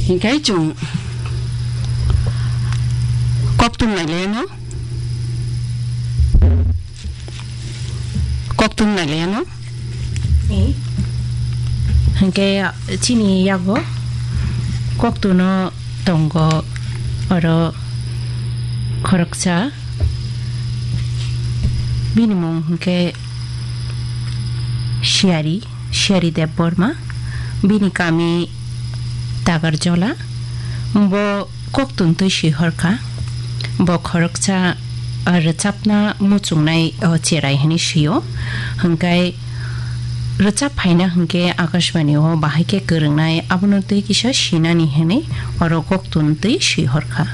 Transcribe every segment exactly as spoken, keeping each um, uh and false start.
Hinkhe chwng koktun nailaiano, koktun nailaiano. Eh. Hinkhe chini yago koktuno tongo oro khoroksa. Bini mung hinkhe Siyari, Siyari Debbarma. Bini kami Tagarjola. Bo koktun twi swi horkha. Bo khoroksa, ah, rwchapna muchungnai, oh, cherai hwnwi sio. Hwnkhe rwchap phaina hwnkhe Akashbani o bahai khe kwrwngnai, abono twi kisa sinani hwnwi oro koktun twi swi horkha.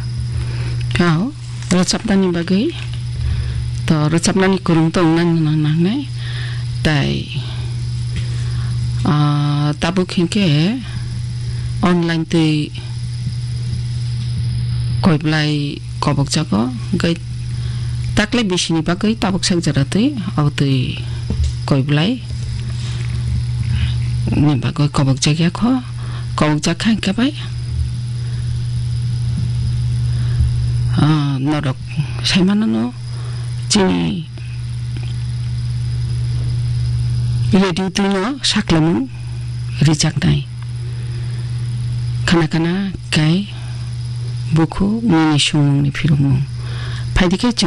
Kau. Rwchapnani bagwi to rwchapnani kwrwng tong nang nang nangnai. Tai, ah, tabuk hinkhe online twi koiblai kobokjago, hwnkhe takle bisini bagwi tabuk sak jora twi abo twi koiblai ni bagwi kobokjak ya kho, kobokjak kha hinkhe bai. Ah, norok sai mano no chini radio twi no saklamung rijaknai. Khana khana kai bukhuk nini songmung ni phirokmung. Phaidi khe